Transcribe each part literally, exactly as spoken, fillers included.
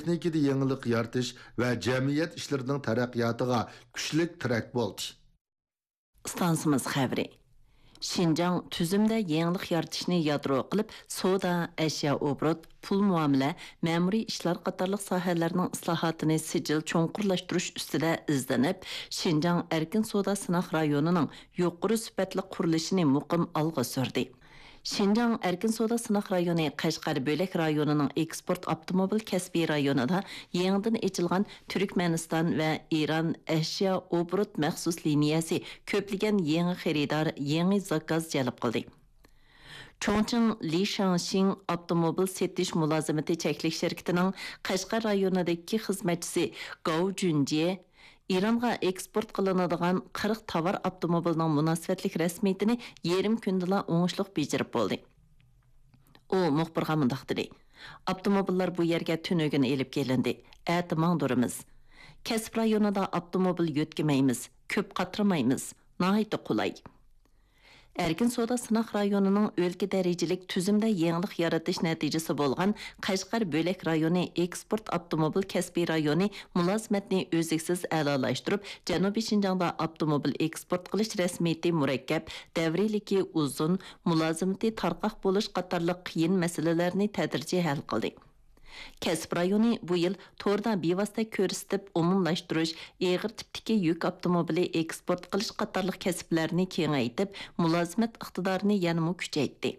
تېخنىكىدا يېڭىلىق يارىتىش ۋە جەمئىيەت ئىشلىرىنىڭ تەرەققىياتىغا كۈچلۈك تىرەك بولدى. ئىستانسىمىز خەۋىرى. شىنجاڭ تۈزۈمدە يېڭىلىق يارىتىشنى يادرو قىلىپ، سودا، ئەشيا ئوبوروت، پۇل مۇئامىلە، مەمۇرىي ئىشلار قاتارلىق ساھەلەرنىڭ ئىسلاھاتىنى سىجىل چوڭقۇرلاشتۇرۇش ئۈستىدە ئىزدىنىپ، شىنجاڭ ئەركىن سودا سىناق رايونىنىڭ يۇقىرى سۈپەتلىك قۇرۇلۇشىنى مۇقىم ئالغا سۈردى. شىنجاڭ ئەركىن سودا سىناق رايونى قەشقەر بۆلەك رايونىنىڭ ئېكسپورت ئاپتوموبىل كەسپىي رايونىدا يېڭىدىن ئېچىلغان تۈركمەنىستان ۋە ئىران ئەشيا ئوبوروت مەخسۇس لىنىيەسى كۆپلىگەن يېڭى خېرىدار، يېڭى زاكاز جەلپ قىلدى. چۇڭچىڭ لىشاڭشىڭ ئاپتوموبىل سېتىش مۇلازىمىتى چەكلىك شىركىتىنىڭ قەشقەر رايونىدىكى خىزمەتچىسى گاۋ جۈنجيې ئىرانغا ئېكسپورت قىلىنىدىغان قىرىق تاۋار ئاپتوموبىلىنىڭ مۇناسىۋەتلىك رەسمىيىتىنى يېرىم كۈندىلا ئوڭۇشلۇق بېجىرىپ بولدى. ئۇ مۇخبىرغا مۇنداق دېدى: «ئاپتوموبىللار بۇ يەرگە تۈنۈگۈن ئېلىپ كېلىندى، ئەتە ماڭدۇرىمىز. كەسىپ رايونىدا ئاپتوموبىل يۆتكىمەيمىز، كۆپ قاترىمايمىز، ناھايىتى قولاي.» ئەركىن سودا سىناق رايونىنىڭ ئۆلكە دەرىجىلىك تۈزۈمدە يېڭىلىق يارىتىش نەتىجىسى بولغان قەشقەر بۆلەك رايونى ئېكسپورت ئاپتوموبىل كەسپىي رايونى مۇلازىمەتنى ئۈزلۈكسىز ئەلالاشتۇرۇپ، جەنۇبىي شىنجاڭدا ئاپتوموبىل ئېكسپورت قىلىش رەسمىيىتى مۇرەككەپ، دەۋرىيلىكى ئۇزۇن، مۇلازىمىتى تارقاق بولۇش قاتارلىق قىيىن مەسىلىلەرنى تەدرىجىي ھەل قىلدى. كەسىپ رايونى بۇ يىل توردا بىۋاسىتە كۆرسىتىپ ئومۇملاشتۇرۇش، ئېغىر تىپتىكى يۈك ئاپتوموبىلى ئېكسپورت قىلىش قاتارلىق كەسىپلەرنى كېڭەيتىپ، مۇلازىمەت ئىقتىدارىنى يەنىمۇ كۈچەيتتى.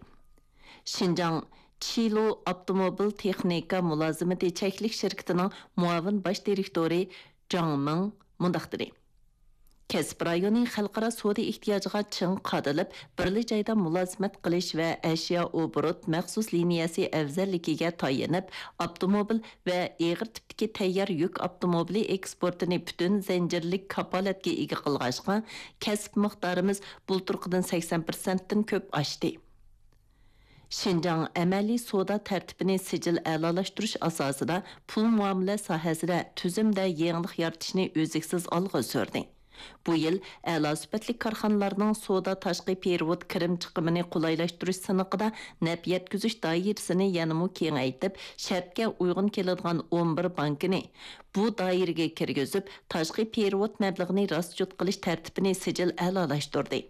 شىنجاڭ چىلۇ ئاپتوموبىل تېخنىكا مۇلازىمىتى چەكلىك شىركىتىنىڭ مۇئاۋىن باش دىرېكتورى جاڭ مىڭ مۇنداق دېدى: «كەسىپ رايونى خەلقئارا سودا ئېھتىياجىغا چىڭ قادىلىپ، بىرلا جايدا مۇلازىمەت قىلىش ۋە ئەشيا ئوبوروت مەخسۇس لىنىيەسى ئەۋزەللىكىگە تايىنىپ، ئاپتوموبىل ۋە ئېغىر تىپتىكى تەييار يۈك ئاپتوموبىلى ئېكسپورتىنى پۈتۈن زەنجىرلىك كاپالەتكە ئىگە قىلغاچقا، كەسىپ مىقدارىمىز بۇلتۇرقىدىن سەكسەن پىرسەنتتىن كۆپ ئاشتى.» شىنجاڭ ئەمەلىي سودا تەرتىپىنى سىجىل ئەلالاشتۇرۇش ئاساسىدا پۇل مۇئامىلە ساھەسىدە تۈزۈمدە يېڭىلىق يارىتىشنى ئۈزلۈكسىز ئالغا سۈردى. بۇ يىل ئەلا سۈپەتلىك كارخانىلارنىڭ سودا تاشقى پېرېۋوت كىرىم چىقىمىنى قولايلاشتۇرۇش سىنىقىدا نەپ يەتكۈزۈش دائىرىسىنى يەنىمۇ كېڭەيتىپ، شەرتكە ئۇيغۇن كېلىدىغان ئون بىر بانكىنى بۇ دائىرىگە كىرگۈزۈپ، تاشقى پېرېۋوت مەبلىغىنى راسچوت قىلىش تەرتىپىنى سىجىل ئەلالاشتۇردى.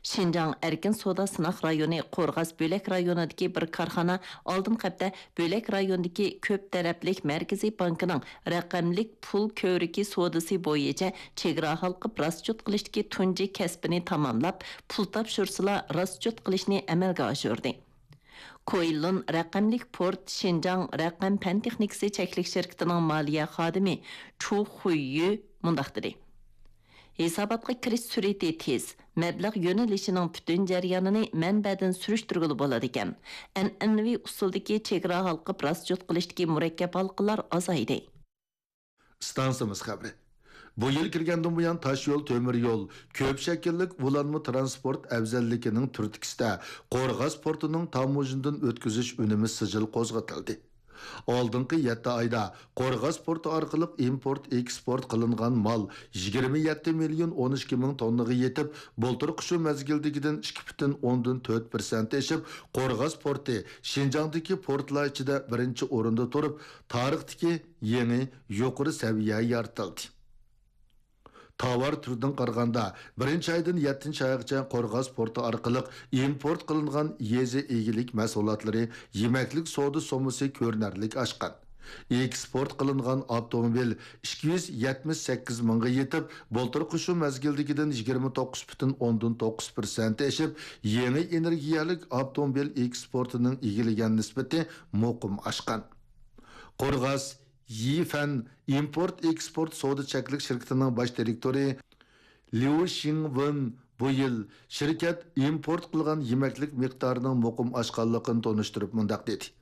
شىنجاڭ ئەركىن سودا سىناق رايونى قورغاس بۆلەك رايونىدىكى بىر كارخانا ئالدىنقى ھەپتە بۆلەك رايوندىكى كۆپ تەرەپلىك مەركىزىي بانكىنىڭ رەقەملىك پۇل كۆۋرۈكى سودىسى بويىچە چېگرا ھالقىپ راسچوت قىلىشتىكى تۇنجى كەسپىنى تاماملاپ، پۇل تاپشۇرسىلا راسچوت قىلىشنى ئەمەلگە ئاشۇردى. كويلۇن رەقەملىك پورت شىنجاڭ رەقەم پەن تېخنىكىسى چەكلىك شىركىتىنىڭ مالىيە خادىمى چۇ خۇييۈ مۇنداق دېدى: ھېساباتقا كىرىش سۈرئىتى تېز، مەبلەغ يۆنىلىشىنىڭ پۈتۈن جەريانىنى مەنبەدىن سۈرۈشتۈرگىلى بولىدىكەن. ئەنئەنىۋى ئۇسۇلدىكى چېگرا ھالقىپ راسچوت قىلىشتىكى مۇرەككەپ ھالقىلار ئازايدى. ئىستانسىمىز خەۋىرى. بۇ يىل كىرگەندىن بۇيان، تاشيول، تۆمۈر يول، كۆپ شەكىللىك ئۇلانما تىرانسپورت ئەۋزەللىكىنىڭ تۈرتكىسىدە قورغاس پورتىنىڭ تاموژنىدىن ئۆتكۈزۈش ئۈنۈمى سىجىل قوزغىتىلدى. ئالدىنقى يەتتە ئايدا قورغاس پورتى ئارقىلىق ئىمپورت، ئېكسپورت قىلىنغان مال يىگىرمە يەتتە مىليون ئون ئىككى مىڭ توننىغا يېتىپ، بۇلتۇرقى شۇ مەزگىلدىكىدىن ئىككى پۈتۈن ئوندىن تۆت پىرسەنت ئېشىپ، قورغاس پورتى شىنجاڭدىكى پورتلار ئىچىدە بىرىنچى ئورۇندا تۇرۇپ، تارىختىكى يېڭى يۇقىرى سەۋىيە يارىتىلدى. تاۋار تۈرىدىن قارىغاندا، بىرىنچى ئايدىن يەتتىنچى ئايغىچە قورغاس پورتى ئارقىلىق ئىمپورت قىلىنغان يېزا ئىگىلىك مەھسۇلاتلىرى، يېمەكلىك سودا سوممىسى كۆرۈنەرلىك ئاشقان. ئېكسپورت قىلىنغان ئاپتوموبىل ئىككى يۈز يەتمىش سەككىز مىڭغا يېتىپ، بۇلتۇرقى شۇ مەزگىلدىكىدىن يىگىرمە توققۇز پۈتۈن ئوندىن توققۇز پىرسەنت ئېشىپ، يېڭى ئېنېرگىيەلىك ئاپتوموبىل ئېكسپورتىنىڭ ئىگىلىگەن نىسبىتى مۇقىم ئاشقان. قورغاس يىفەن ئىمپورت ئېكسپورت سودا چەكلىك شىركىتىنىڭ باش دىرېكتورى ليۇ شىڭۋېن بۇ يىل شىركەت ئىمپورت قىلغان يېمەكلىك مىقدارىنىڭ مۇقىم ئاشقانلىقىنى تونۇشتۇرۇپ مۇنداق دېدى: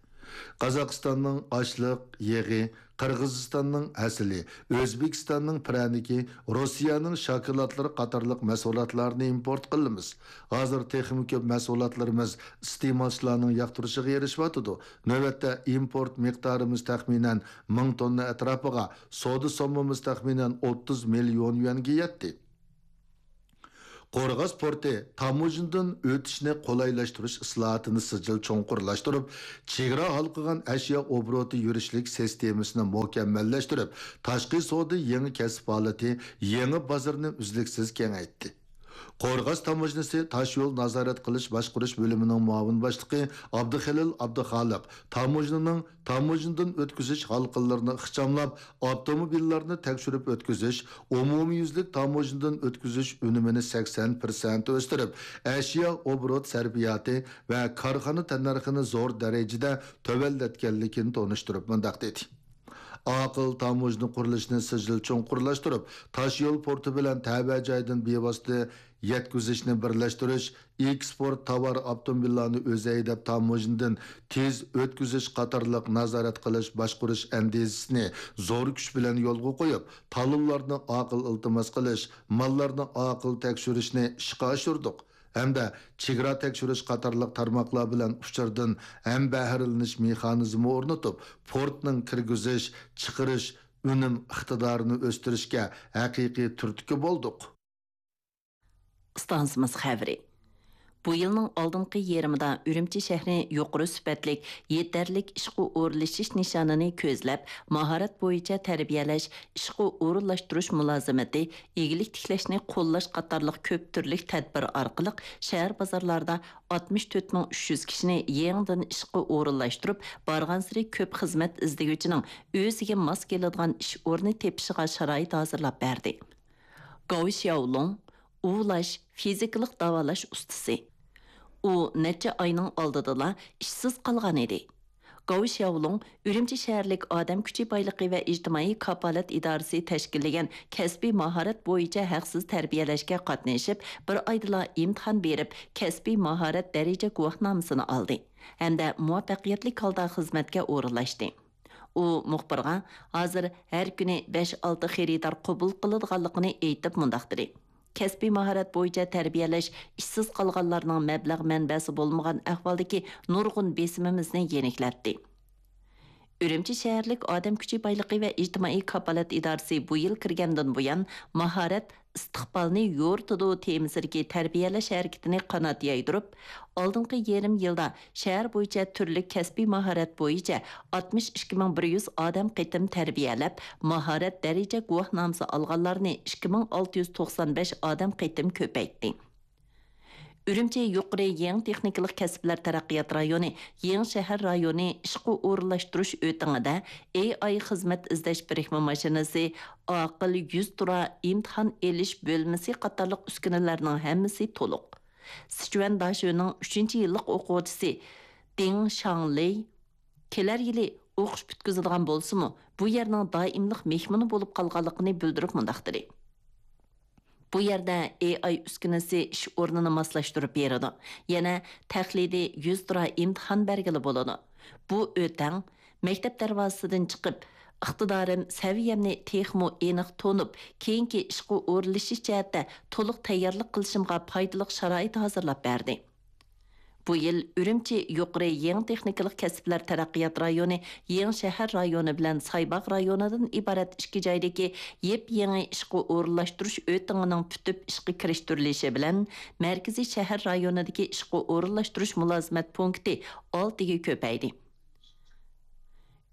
قازاقىستاننىڭ ئاشلىق، يېغى، قىرغىزىستاننىڭ ھەسىلى، ئۆزبېكىستاننىڭ پىرەنىكى، روسىيەنىڭ شاكىلاتلىرى قاتارلىق مەھسۇلاتلارنى ئىمپورت قىلىمىز. ھازىر تېخىمۇ كۆپ مەھسۇلاتلىرىمىز ئىستېمالچىلارنىڭ ياقتۇرۇشىغا ئېرىشىۋاتىدۇ. نۆۋەتتە ئىمپورت مىقدارىمىز تەخمىنەن مىڭ توننا ئەتراپىغا، سودا سوممىمىز تەخمىنەن ئوتتۇز مىليون يۈەنگە يەتتى. قورغاس پورتى تاموژنىدىن ئۆتۈشنى قولايلاشتۇرۇش ئىسلاھاتىنى سىجىل چوڭقۇرلاشتۇرۇپ، چېگرا ھالقىغان ئەشيا ئوبوروتى يۈرۈشلۈك سىستېمىسىنى مۇكەممەللەشتۈرۈپ، تاشقى سودا يېڭى كەسىپ ھالىتى، يېڭى بازىرىنى ئۈزلۈكسىز كېڭەيتتى. قورغاس تاموژنىسى تاشيول نازارەت قىلىش باشقۇرۇش بۆلۈمىنىڭ مۇئاۋىن باشلىقى ئابدۇخېلىل ئابدۇخالىق تاموژنىنىڭ تاموژنىدىن ئۆتكۈزۈش ھالقىلىرىنى ئىخچاملاپ، ئاپتوموبىللارنى تەكشۈرۈپ ئۆتكۈزۈش، ئومۇميۈزلۈك تاموژنىدىن ئۆتكۈزۈش ئۈنۈمىنى سەكسەن پىرسەنت ئۆستۈرۈپ، ئەشيا ئوبوروت سەرپىياتى ۋە كارخانا تەننەرخىنى زور دەرىجىدە تۆۋەنلەتكەنلىكىنى تونۇشتۇرۇپ مۇنداق دېدى: ئاقىل تاموژنا قۇرۇلۇشىنى سىجىل چوڭقۇرلاشتۇرۇپ، تاشيول پورتى بىلەن تەۋە جايدىن بىۋاسىتە يەتكۈزۈشنى بىرلەشتۈرۈش، ئېكسپورت تاۋار ئاپتوموبىللارنى ئۆزى ھەيدەپ تاموژنىدىن تېز ئۆتكۈزۈش قاتارلىق نازارەت قىلىش باشقۇرۇش ئەندىزىسىنى زور كۈچ بىلەن يولغا قويۇپ، تالونلارنى ئاقىل ئىلتىماس قىلىش، ماللارنى ئاقىل تەكشۈرۈشنى ئىشقا ئاشۇردۇق ھەمدە چېگرا تەكشۈرۈش قاتارلىق تارماقلار بىلەن ئۇچۇردىن ھەمبەھىرلىنىش مېخانىزمى ئورنىتىپ، پورتنىڭ كىرگۈزۈش، چىقىرىش، ئۈنۈم ئىقتىدارىنى ئۆستۈرۈشكە ھەقىقىي تۈرتكە بولدۇق. ئىستانسىمىز خەۋىرى. بۇ يىلنىڭ ئالدىنقى يېرىمىدا ئۈرۈمچى شەھىرى يۇقىرى سۈپەتلىك، يېتەرلىك ئىشقا ئورۇنلىشىش نىشانىنى كۆزلەپ، ماھارەت بويىچە تەربىيەلەش، ئىشقا ئورۇنلاشتۇرۇش مۇلازىمىتى، ئىگىلىك تىكلەشنى قوللاش قاتارلىق كۆپ تۈرلۈك تەدبىر ئارقىلىق شەھەر بازارلاردا ئاتمىش تۆت مىڭ ئۈچ يۈز كىشىنى يېڭىدىن ئىشقا ئورۇنلاشتۇرۇپ، بارغانسېرى كۆپ خىزمەت ئىزدىگۈچىنىڭ ئۆزىگە ماس كېلىدىغان ئىش ئورنى تېپىشىغا شارائىت ھازىرلاپ بەردى. گاۋ شياۋلۇڭ، ئۇۋۇلاش، فىزىكىلىق داۋالاش ئۇستىسى. ئۇ نەچچە ئاينىڭ ئالدىدىلا ئىشسىز قالغان ئىدى. گاۋ شياۋلۇڭ ئۈرۈمچى شەھەرلىك ئادەم كۈچى بايلىقى ۋە ئىجتىمائىي كاپالەت ئىدارىسى تەشكىللىگەن كەسپىي ماھارەت بويىچە ھەقسىز تەربىيەلەشكە قاتنىشىپ، بىر ئايدىلا ئىمتىھان بېرىپ، كەسپىي ماھارەت دەرىجە گۇۋاھنامىسىنى ئالدى ھەمدە مۇۋەپپەقىيەتلىك ھالدا خىزمەتكە ئورۇنلاشتى. ئۇ مۇخبىرغا ھازىر ھەر كۈنى بەش-ئالتە خېرىدار قوبۇل قىلىدىغانلىقىنى ئېيتىپ مۇنداق دېدى: كەسپىي ماھارەت بويىچە تەربىيەلەش ئىشسىز قالغانلارنىڭ مەبلەغ مەنبەسى بولمىغان ئەھۋالدىكى نۇرغۇن بېسىمىمىزنى يېنىكلەتتى. ئۈرۈمچى شەھەرلىك ئادەم كۈچى بايلىقى ۋە ئىجتىمائىي كاپالەت ئىدارىسى بۇ يىل كىرگەندىن بۇيان، ماھارەت ئىستىقبالنى يورۇتىدۇ تېمىسىدىكى تەربىيەلەش ھەرىكىتىنى قانات يايدۇرۇپ، ئالدىنقى يېرىم يىلدا شەھەر بويىچە تۈرلۈك كەسپىي ماھارەت بويىچە ئاتمىش ئىككى مىڭ بىر يۈز ئادەم قېتىم تەربىيەلەپ، ماھارەت دەرىجە گۇۋاھنامىسى ئالغانلارنى ئىككى مىڭ ئالتە يۈز توقسان بەش ئادەم قېتىم كۆپەيتتى. ئۈرۈمچى يۇقىرى يېڭى تېخنىكىلىق كەسىپلەر تەرەققىيات رايونى يېڭى شەھەر رايونى ئىشقا ئورۇنلاشتۇرۇش ئۆتىڭىدە ئېي ئاي خىزمەت ئىزدەش بىرىكمە ماشىنىسى، ئاقىل يۈز تۇرا ئىمتىھان ئېلىش بۆلمىسى قاتارلىق ئۈسكۈنىلەرنىڭ ھەممىسى تولۇق. سىچۈەن داشۆنىڭ ئۈچىنچى يىللىق ئوقۇغۇچىسى دىڭ شاڭلېي كېلەر يىلى ئوقۇش پۈتكۈزىدىغان بولسىمۇ، بۇ يەرنىڭ دائىملىق مېھمىنى بولۇپ قالغانلىقىنى بىلدۈرۈپ مۇنداق دېدى: بۇ يەردە ئېي ئاي ئۈسكۈنىسى ئىش ئورنىنى ماسلاشتۇرۇپ بېرىدۇ. يەنە تەقلىدىي يۈز تۇرا ئىمتىھان بەرگىلى بولىدۇ. بۇ ئۆتەڭ مەكتەپ دەرۋازىسىدىن چىقىپ، ئىقتىدارىم، سەۋىيەمنى تېخىمۇ ئېنىق تونۇپ، كېيىنكى ئىشقا ئورۇنلىشىش جەھەتتە تولۇق تەييارلىق قىلىشىمغا پايدىلىق شارائىت ھازىرلاپ بەردى. بۇ يىل ئۈرۈمچى يۇقىرى يېڭى تېخنىكىلىق كەسىپلەر تەرەققىيات رايونى يېڭى شەھەر رايونى بىلەن سايباغ رايونىدىن ئىبارەت ئىككى جايدىكى يېپيېڭى ئىشقا ئورۇنلاشتۇرۇش ئۆتىڭىنىڭ پۈتۈپ ئىشقا كىرىشتۈرۈلۈشى بىلەن، مەركىزىي شەھەر رايونىدىكى ئىشقا ئورۇنلاشتۇرۇش مۇلازىمەت پونكىتى ئالتىگە كۆپەيدى.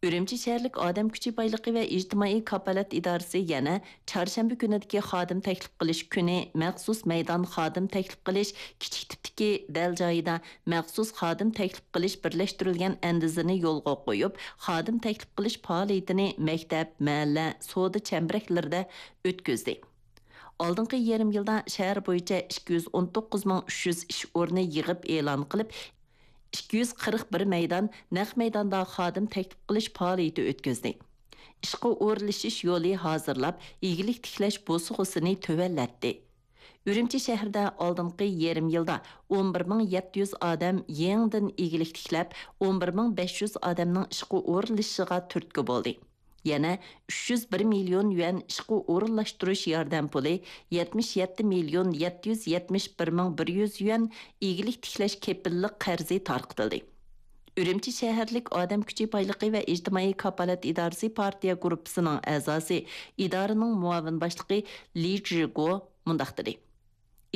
ئۈرۈمچى شەھەرلىك ئادەم كۈچى بايلىقى ۋە ئىجتىمائىي كاپالەت ئىدارىسى يەنە چارشەنبە كۈنىدىكى خادىم تەكلىپ قىلىش كۈنى مەخسۇس مەيدان خادىم تەكلىپ قىلىش كىچىك تىپتىكى دەل جايىدا مەخسۇس خادىم تەكلىپ قىلىش بىرلەشتۈرۈلگەن ئەندىزىنى يولغا قويۇپ، خادىم تەكلىپ قىلىش پائالىيىتىنى مەكتەپ، مەھەللە، سودا چەمبىرەكلىرىدە ئۆتكۈزدى. ئالدىنقى يېرىم يىلدا شەھەر بويىچە ئىككى يۈز ئون توققۇز مىڭ ئۈچ يۈز ئىش ئورنى يىغىپ ئېلان قىلىپ، ئىككى يۈز قىرىق بىر مەيدان نەق مەيداندا خادىم تەكلىپ قىلىش پائالىيىتى ئۆتكۈزدى. ئىشقا ئورۇنلىشىش يولى ھازىرلاپ، ئىگىلىك تىكلەش بوسۇغىسىنى تۆۋەنلەتتى. ئۈرۈمچى شەھىرىدە ئالدىنقى يېرىم يىلدا ئون بىر مىڭ يەتتە يۈز ئادەم يېڭىدىن ئىگىلىك تىكلەپ، ئون بىر مىڭ بەش يۈز ئادەمنىڭ ئىشقا ئورۇنلىشىشىغا تۈرتكە بولدى. يەنە ئۈچ يۈز بىر مىليون يۈەن ئىشقا ئورۇنلاشتۇرۇش ياردەم پۇلى، يەتمىش يەتتە مىليون يەتتە يۈز يەتمىش بىر مىڭ بىر يۈز يۈەن ئىگىلىك تىكلەش كېپىللىق قەرزى تارقىتىلدى. ئۈرۈمچى شەھەرلىك ئادەم كۈچى بايلىقى ۋە ئىجتىمائىي كاپالەت ئىدارىسى پارتىيە گۇرۇپپىسىنىڭ ئەزاسى، ئىدارىنىڭ مۇئاۋىن باشلىقى لى جىگو مۇنداق دېدى: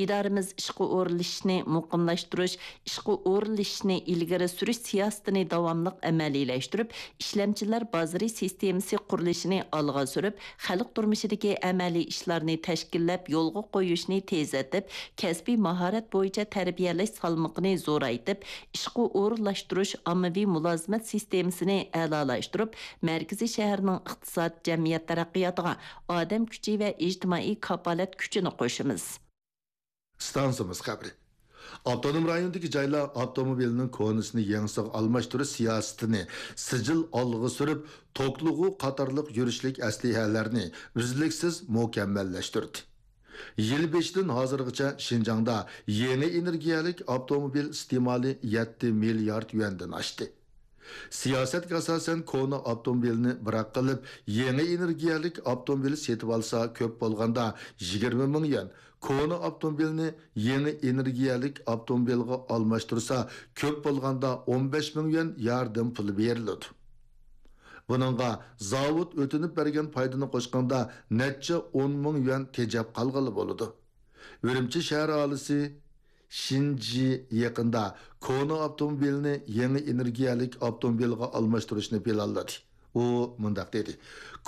ئىدارىمىز ئىشقا ئورۇنلىشىشنى مۇقىملاشتۇرۇش، ئىشقا ئورۇنلىشىشنى ئىلگىرى سۈرۈش سىياسىتىنى داۋاملىق ئەمەلىيلەشتۈرۈپ، ئىشلەمچىلەر بازىرى سىستېمىسى قۇرۇلۇشىنى ئالغا سۈرۈپ، خەلق تۇرمۇشىدىكى ئەمەلىي ئىشلارنى تەشكىللەپ يولغا قويۇشنى تېزلىتىپ، كەسپىي ماھارەت بويىچە تەربىيەلەش سالمىقىنى زورايتىپ، ئىشقا ئورۇنلاشتۇرۇش ئاممىۋى مۇلازىمەت سىستېمىسىنى ئەلالاشتۇرۇپ، مەركىزىي شەھەرنىڭ ئىقتىساد، جەمئىيەت تەرەققىياتىغا ئادەم كۈچى ۋە ئىجتىمائىي كاپالەت كۈچىنى قوشىمىز. ئىستانسىمىز خەۋىرى. ئاپتونوم رايوندىكى جايلار ئاپتوموبىلنىڭ كونىسىنى يېڭىسىغا ئالماشتۇرۇش سىياسىتىنى سىجىل ئالغا سۈرۈپ، توكلىغۇ قاتارلىق يۈرۈشلۈك ئەسلىھەلەرنى ئۈزلۈكسىز مۇكەممەللەشتۈردى. يىل بېشىدىن ھازىرغىچە شىنجاڭدا يېڭى ئېنېرگىيەلىك ئاپتوموبىل ئىستېمالى يەتتە مىليارد يۈەندىن ئاشتى. سىياسەتكە ئاساسەن، كونا ئاپتوموبىلنى بىراق قىلىپ، يېڭى ئېنېرگىيەلىك ئاپتوموبىل سېتىۋالسا، كۆپ بولغاندا يىگىرمە مىڭ يۈەن، كونا ئاپتوموبىلنى يېڭى ئېنېرگىيەلىك ئاپتوموبىلغا ئالماشتۇرسا، كۆپ بولغاندا ئون بەش مىڭ يۈەن ياردەم پۇلى بېرىلىدۇ. بۇنىڭغا زاۋۇت ئۆتۈنۈپ بەرگەن پايدىنى قوشقاندا نەچچە ئون مىڭ يۈەن تېجەپ قالغىلى بولىدۇ. ئۈرۈمچى شەھەر ئاھالىسى شىنجى يېقىندا كونا ئاپتوموبىلنى يېڭى ئېنېرگىيەلىك ئاپتوموبىلغا ئالماشتۇرۇشنى پىلانلىدى. ئۇ مۇنداق دېدى: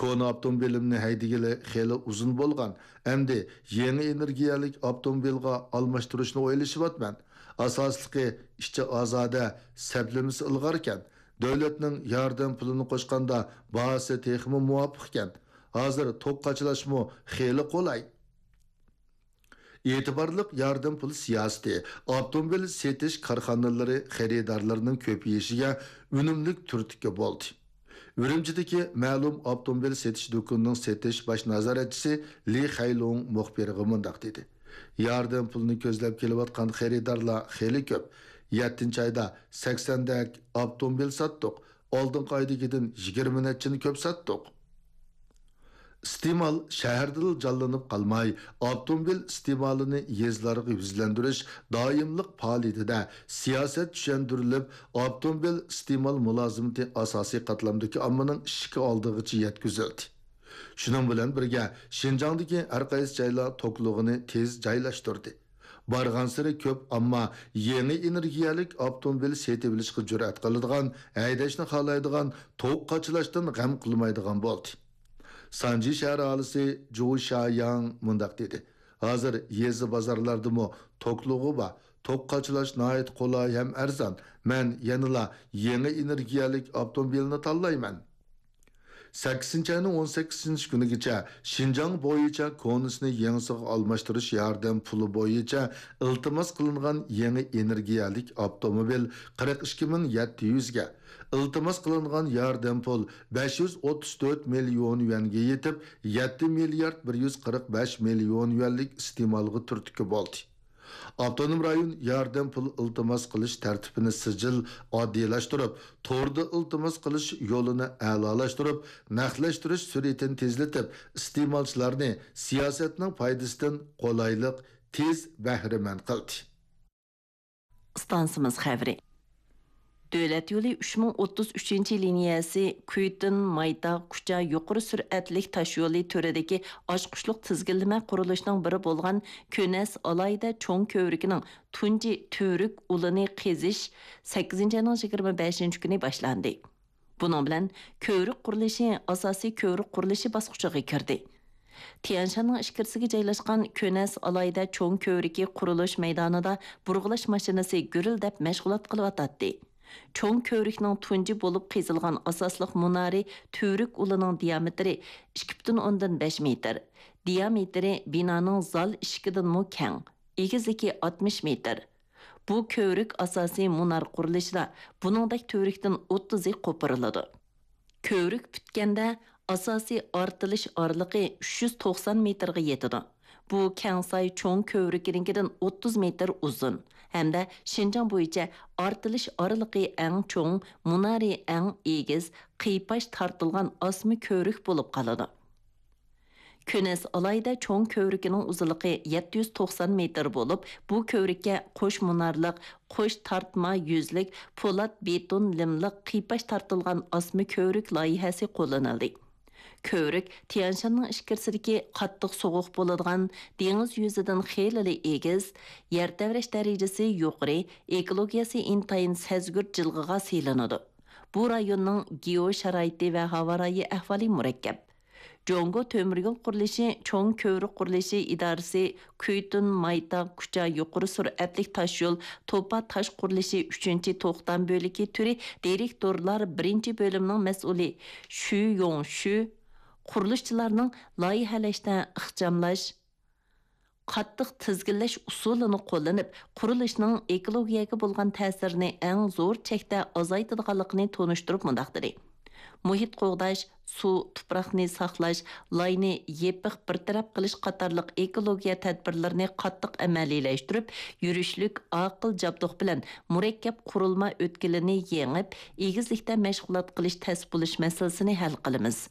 «كونا ئاپتوموبىلىمنى ھەيدىگىلى خېلى ئۇزۇن بولغان، ئەمدى يېڭى ئېنېرگىيەلىك ئاپتوموبىلغا ئالماشتۇرۇشنى ئويلىشىۋاتىمەن. ئاساسلىقى ئىچى ئازادە، سەپلىمىسى ئىلغاركەن. دۆلەتنىڭ ياردەم پۇلىنى قوشقاندا باھاسى تېخىمۇ مۇۋاپىقكەن. ھازىر توك قاچىلاشمۇ خېلى قولاي.» ئېتىبارلىق ياردەم پۇل سىياسىتى ئاپتوموبىل سېتىش كارخانىلىرى خېرىدارلىرىنىڭ كۆپىيىشىگە ئۈنۈملۈك تۈرتكە بولدى. ئۈرۈمچىدىكى مەلۇم ئاپتوموبىل سېتىش دۇكىنىنىڭ سېتىش باش نازارەتچىسى لى خەيلۇڭ مۇخبىرغا مۇنداق دېدى: «ياردەم پۇلىنى كۆزلەپ كېلىۋاتقان خېرىدارلار خېلى كۆپ. يەتتىنچى ئايدا سەكسەندەك ئاپتوموبىل ساتتۇق. ئالدىنقى ئايدىكىدىن يىگىرمە نەچچىنى كۆپ ساتتۇق.» ئىستېمال شەھەردىلا جانلىنىپ قالماي، ئاپتوموبىل ئىستېمالىنى يېزىلارغا يۈزلەندۈرۈش دائىملىق پائالىيىتىدە سىياسەت چۈشەندۈرۈلۈپ، ئاپتوموبىل ئىستېمال مۇلازىمىتى ئاساسىي قاتلامدىكى ئاممىنىڭ ئىشىكى ئالدىغىچە يەتكۈزۈلدى. شۇنىڭ بىلەن بىرگە، شىنجاڭدىكى ھەر قايسى جايلار توكلىغۇنى تېز جايلاشتۇردى. بارغانسېرى كۆپ ئامما يېڭى ئېنېرگىيەلىك ئاپتوموبىل سېتىۋېلىشقا جۈرئەت قىلىدىغان، ھەيدەشنى خالايدىغان، توك قاچىلاشتىن غەم قىلمايدىغان بولدى. سانجى شەھەر ئاھالىسى جۇ شياڭ مۇنداق دېدى: «ھازىر يېزا بازارلاردىمۇ توكلۇغۇ بار، توك قاچىلاش ناھايىتى قولاي ھەم ئەرزان. مەن يەنىلا يېڭى ئېنېرگىيەلىك ئاپتوموبىلنى تاللايمەن.» سەككىزىنچى ئاينىڭ ئون سەككىزىنچى كۈنىگىچە شىنجاڭ بويىچە كونىسىنى يېڭىسىغا ئالماشتۇرۇش ياردەم پۇلى بويىچە ئىلتىماس قىلىنغان يېڭى ئېنېرگىيەلىك ئاپتوموبىل قىرىق ئىككى مىڭ يەتتە يۈزگە، ئىلتىماس قىلىنغان ياردەم پۇل بەش يۈز ئوتتۇز تۆت مىليون يۈەنگە يېتىپ، يەتتە مىليارد بىر يۈز قىرىق بەش مىليون يۈەنلىك ئىستېمالغا تۈرتكە بولدى. ئاپتونوم رايون ياردەم پۇل ئىلتىماس قىلىش تەرتىپىنى سىجىل، ئاددىيلاشتۇرۇپ، توردا ئىلتىماس قىلىش يولىنى ئەلالاشتۇرۇپ، نەقلەشتۈرۈش سۈرئىتىنى تېزلىتىپ، ئىستېمالچىلارنى سىياسەتنىڭ پايدىسىدىن قولايلىق، تېز بەھرىمەن قىلدى. ئىستانسىمىز خەۋىرى. دۆلەت يولى ئۈچ مىڭ ئوتتۇز ئۈچىنچى لىنىيەسى كۈيتىن، مايتاغ، كۇچا يۇقىرى سۈرئەتلىك تاشيولى تۈرىدىكى ئاچقۇچلۇق تىزگىنلىمە قۇرۇلۇشىنىڭ بىرى بولغان كۆنەس ئالاھىدە چوڭ كۆۋرۈكىنىڭ تۇنجى تۈۋرۈك ئۇلىنى قېزىش سەككىزىنچى ئاينىڭ يىگىرمە بەشىنچى كۈنى باشلاندى. بۇنىڭ بىلەن كۆۋرۈك قۇرۇلۇشى ئاساسىي كۆۋرۈك قۇرۇلۇشى باسقۇچىغا كىردى. تيەنشاننىڭ ئىچكىرىسىگە جايلاشقان كۆنەس ئالاھىدە چوڭ كۆۋرۈكى قۇرۇلۇش مەيدانىدا بۇرغىلاش ماشىنىسى گۈرۈلدەپ مەشغۇلات قىلىۋاتاتتى. چوڭ كۆۋرۈكنىڭ تۇنجى بولۇپ قېزىلغان ئاساسلىق مۇنارى تۈۋرۈك ئۇلىنىڭ دىيامېتىرى ئىككى پۈتۈن ئوندىن بەش مېتىر، دىيامېتىرى بىنانىڭ زال ئىشىكىدىنمۇ كەڭ، ئېگىزلىكى ئاتمىش مېتىر. بۇ كۆۋرۈك ئاساسىي مۇنار قۇرۇلۇشىدا بۇنىڭدەك تۈۋرۈكتىن ئوتتۇزى قوپۇرۇلىدۇ. كۆۋرۈك پۈتكەندە، ئاساسىي ئارتىلىش ئارىلىقى ئۈچ يۈز توقسان مېتىرغا يېتىدۇ. بۇ كەڭساي چوڭ كۆۋرۈكىنىڭكىدىن ئوتتۇز مېتىر ئۇزۇن ھەمدە شىنجاڭ بويىچە ئارتىلىش ئارىلىقى ئەڭ چوڭ، مۇنارى ئەڭ ئېگىز، قىيپاش تارتىلغان ئاسما كۆۋرۈك بولۇپ قالىدۇ. كۆنەس ئالاھىدە چوڭ كۆۋرۈكىنىڭ ئۇزۇنلۇقى يەتتە يۈز توقسان مېتىر بولۇپ، بۇ كۆۋرۈككە قوش مۇنارلىق، قوش تارتما يۈزلۈك پولات بېتون لىملىق قىيپاش تارتىلغان ئاسما كۆۋرۈك لايىھەسى قوللىنىلدى. كۆۋرۈك تيەنشاننىڭ ئىچكىرىسىدىكى قاتتىق سوغۇق بولىدىغان، دېڭىز يۈزىدىن خېلىلا ئېگىز، يەر تەۋرەش دەرىجىسى يۇقىرى، ئېكولوگىيەسى ئىنتايىن سەزگۈر جىلغىغا سېلىنىدۇ. بۇ رايوننىڭ گېئو شارائىتى ۋە ھاۋا رايى ئەھۋالى مۇرەككەپ. جۇڭگو تۆمۈر يول قۇرۇلۇشى چوڭ كۆۋرۈك قۇرۇلۇشى ئىدارىسى كۈيتۈن مايتاغ كۇچا يۇقىرى سۈرئەتلىك تاشيول توپا تاش قۇرۇلۇشى ئۈچىنچى توختام بۆلىكى تۈرى دىرېكتورلار بىرىنچى بۆلۈمىنىڭ مەسئۇلى شۈ يوڭ شۈ قۇرۇلۇشچىلارنىڭ لايىھەلەشتە ئىخچاملاش، قاتتىق تىزگىنلەش ئۇسۇلىنى قوللىنىپ، قۇرۇلۇشنىڭ ئېكولوگىيەگە بولغان تەسىرىنى ئەڭ زور چەكتە ئازايتىدىغانلىقىنى تونۇشتۇرۇپ مۇنداق دېدى: مۇھىت قوغداش، سۇ، تۇپراقنى ساقلاش، لاينى يېپىق بىر تەرەپ قىلىش قاتارلىق ئېكولوگىيە تەدبىرلىرىنى قاتتىق ئەمەلىيلەشتۈرۈپ، يۈرۈشلۈك ئاقىل جابدۇق بىلەن مۇرەككەپ قۇرۇلما ئۆتكىلىنى يېڭىپ، ئېگىزلىكتە مەشغۇلات قىلىش تەس بولۇش مەسىلىسىنى ھەل قىلىمىز.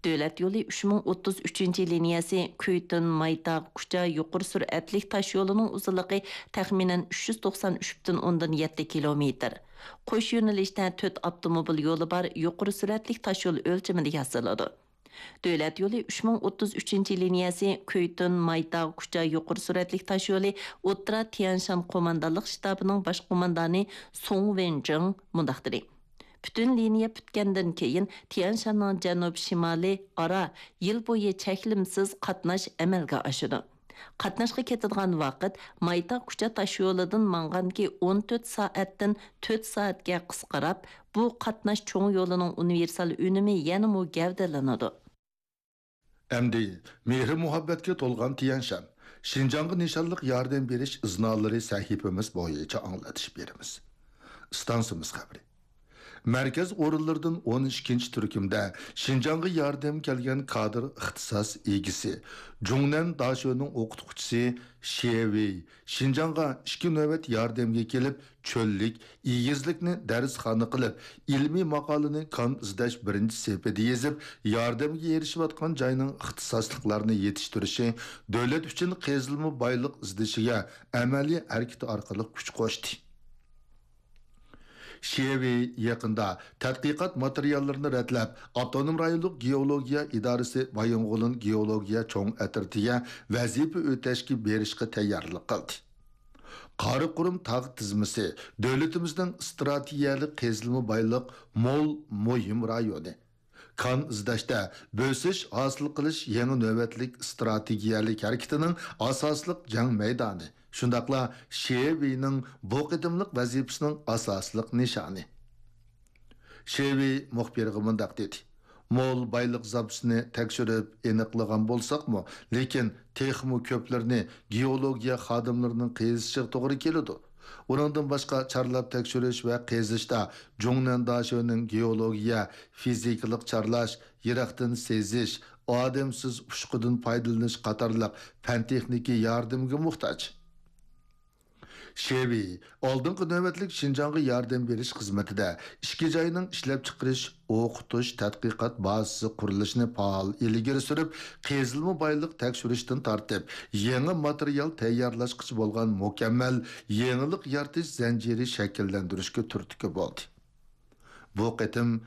دۆلەت يولى ئۈچ مىڭ ئوتتۇز ئۈچىنچى لىنىيەسى كۈيتۈن مايتاغ كۇچا يۇقىرى سۈرئەتلىك تاش يولىنىڭ ئۇزۇنلۇقى تەخمىنەن ئۈچ يۈز توقسان ئۈچ پۈتۈن ئوندىن يەتتە كىلومېتىر. قوش يۆنىلىشتە تۆت ئاپتوموبىل يولى بار يۇقىرى سۈرئەتلىك تاش يول ئۆلچىمىدە ياسىلىدۇ. دۆلەت يولى ئۈچ مىڭ ئوتتۇز ئۈچىنچى لىنىيەسى كۈيتۈن مايتاغ كۇچا يۇقىرى سۈرئەتلىك تاش يولى ئوتتۇرا تيەنشان قوماندانلىق شتابىنىڭ باش قوماندانى سۇڭ ۋېنجىڭ مۇنداق دېدى: پۈتۈن لىنىيە پۈتكەندىن كېيىن، تيەنشاننىڭ جەنۇب شىمالى ئارا يىل بويى چەكلىمىسىز قاتناش ئەمەلگە ئاشىدۇ. قاتناشقا كېتىدىغان ۋاقىت مايتاغ كۇچا تاشيولىدىن ماڭغاندىكى ئون تۆت سائەتتىن تۆت سائەتكە قىسقىراپ، بۇ قاتناش چوڭ يولىنىڭ ئۇنىۋېرسال ئۈنۈمى يەنىمۇ گەۋدىلىنىدۇ. ئەمدى مېھرى-مۇھەببەتكە تولغان تيەنشان، شىنجاڭغا نىشانلىق ياردەم بېرىش ئىزنالىرى سەھىپىمىز بويىچە ئاڭلىتىش بېرىمىز. ئىستانسىمىز خەۋىرى. مەركەز ئورۇنلىرىدىن ئون ئىككىنچى تۈركۈمدە شىنجاڭغا ياردەم كەلگەن كادىر ئىختىساس ئىگىسى، جۇڭنەن داشۆنىڭ ئوقۇتقۇچىسى شيې ۋېي شىنجاڭغا ئىككى نۆۋەت ياردەمگە كېلىپ، چۆللۈك، ئېگىزلىكنى دەرسخانا قىلىپ، ئىلمىي ماقالىنى كان ئىزدەش بىرىنچى سېپىدە يېزىپ، ياردەمگە ئېرىشىۋاتقان جاينىڭ ئىختىساسلىقلارنى يېتىشتۈرۈشى، دۆلەت ئۈچۈن قېزىلما بايلىق ئىزدىشىگە ئەمەلىي ھەرىكىتى ئارقىلىق كۈچ قوشتى. شيې ۋېي يېقىندا تەتقىقات ماتېرىياللىرىنى رەتلەپ، ئاپتونوم رايونلۇق گېئولوگىيە ئىدارىسى بايىنغولىن گېئولوگىيە چوڭ ئەترىتىگە ۋەزىپە ئۆتەشكە بېرىشقا تەييارلىق قىلدى. قاراقۇرۇم تاغ تىزمىسى دۆلىتىمىزنىڭ ئىستراتېگىيەلىك قېزىلما بايلىق مول مۇھىم رايونى. كان ئىزدەشتە بۆسۈش ھاسىل قىلىش يېڭى نۆۋەتلىك ئىستراتېگىيەلىك ھەرىكىتىنىڭ ئاساسلىق جەڭ مەيدانى، شۇنداقلا شيې ۋېينىڭ بۇ قېتىملىق ۋەزىپىسىنىڭ ئاساسلىق نىشانى. شيې ۋېي مۇخبىرغا مۇنداق دېدى: مول بايلىق زاپىسىنى تەكشۈرۈپ ئېنىقلىغان بولساقمۇ، لېكىن تېخىمۇ كۆپلىرىنى گېئولوگىيە خادىملىرىنىڭ قېزىشىغا توغرا كېلىدۇ. ئۇنىڭدىن باشقا، چارلاپ تەكشۈرۈش ۋە قېزىشتا جۇڭنەن داشۆنىڭ گېئولوگىيە، فىزىكىلىق چارلاش، يىراقتىن سېزىش، ئادەمسىز ئۇچقۇدىن پايدىلىنىش قاتارلىق پەن-تېخنىكا ياردىمىگە موھتاج. شيې ۋېي ئالدىنقى نۆۋەتلىك شىنجاڭغا ياردەم بېرىش خىزمىتىدە ئىككى جاينىڭ ئىشلەپچىقىرىش، ئوقۇتۇش، تەتقىقات بازىسى قۇرۇلۇشىنى پائال ئىلگىرى سۈرۈپ، قېزىلما بايلىق تەكشۈرۈشتىن تارتىپ، يېڭى ماتېرىيال تەييارلاشقىچە بولغان مۇكەممەل يېڭىلىق يارىتىش زەنجىرى شەكىللەندۈرۈشكە تۈرتكە بولدى. بۇ قېتىم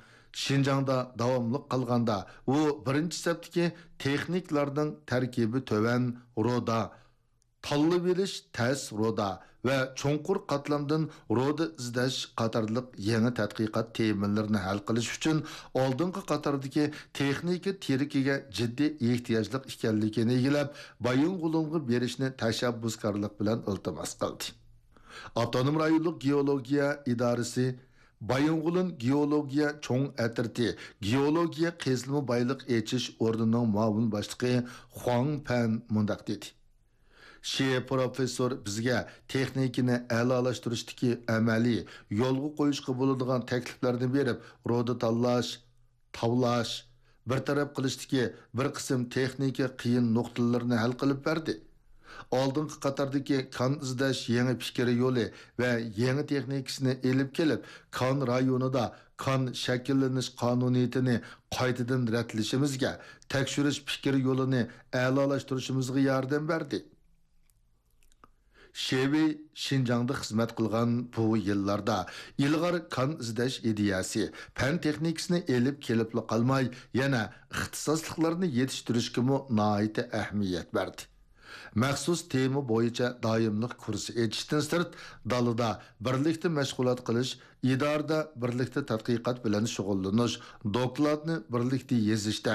شىنجاڭدا داۋاملىق قىلغاندا، ئۇ بىرىنچى سەپتىكى تېخنىكلارنىڭ تەركىبى تۆۋەن رۇدا، تاللىۋېلىش تەس رۇدا ۋە چوڭقۇر قاتلامدىن رۇدا ئىزدەش قاتارلىق يېڭى تەتقىقات تېمىلىرىنى ھەل قىلىش ئۈچۈن ئالدىنقى قاتاردىكى تېخنىكا تىرىكىگە جىددىي ئېھتىياجلىق ئىكەنلىكىنى ئىگىلەپ، بايىنغولىنغا بېرىشنى تەشەببۇسكارلىق بىلەن ئىلتىماس قىلدى. ئاپتونوم رايونلۇق گېئولوگىيە ئىدارىسى بايىنغولىن گېئولوگىيە چوڭ ئەترىتى گېئولوگىيە قېزىلما بايلىق ئېچىش ئورنىنىڭ مۇئاۋىن باشلىقى خۇاڭ پەن مۇنداق دېدى: شيې پروفېسسور بىزگە تېخنىكىنى ئەلالاشتۇرۇشتىكى ئەمەلىي يولغا قويۇشقا بولىدىغان تەكلىپلەرنى بېرىپ، رۇدا تاللاش، تاۋلاش، بىر تەرەپ قىلىشتىكى بىر قىسىم تېخنىكا قىيىن نۇقتىلىرىنى ھەل قىلىپ بەردى. ئالدىنقى قاتاردىكى كان ئىزدەش يېڭى پىكىر يولى ۋە يېڭى تېخنىكىسىنى ئېلىپ كېلىپ، كان رايونىدا كان شەكىللىنىش قانۇنىيىتىنى قايتىدىن رەتلىشىمىزگە، تەكشۈرۈش پىكىر يولىنى ئەلالاشتۇرۇشىمىزغا ياردەم بەردى. شېۋېي شىنجاڭدا خىزمەت قىلغان بۇ يىللاردا ئىلغار كان ئىزدەش ئىدىيەسى، پەن تېخنىكىسىنى ئېلىپ كېلىپلا قالماي، يەنە ئىختىساسلىقلارنى يېتىشتۈرۈشكىمۇ ناھايىتى ئەھمىيەت بەردى. مەخسۇس تېما بويىچە دائىملىق كۇرس ئېچىشتىن سىرت، دالىدا بىرلىكتە مەشغۇلات قىلىش، ئىدارىدە بىرلىكتە تەتقىقات بىلەن شۇغۇللىنىش، دوكلاتنى بىرلىكتە يېزىشتەك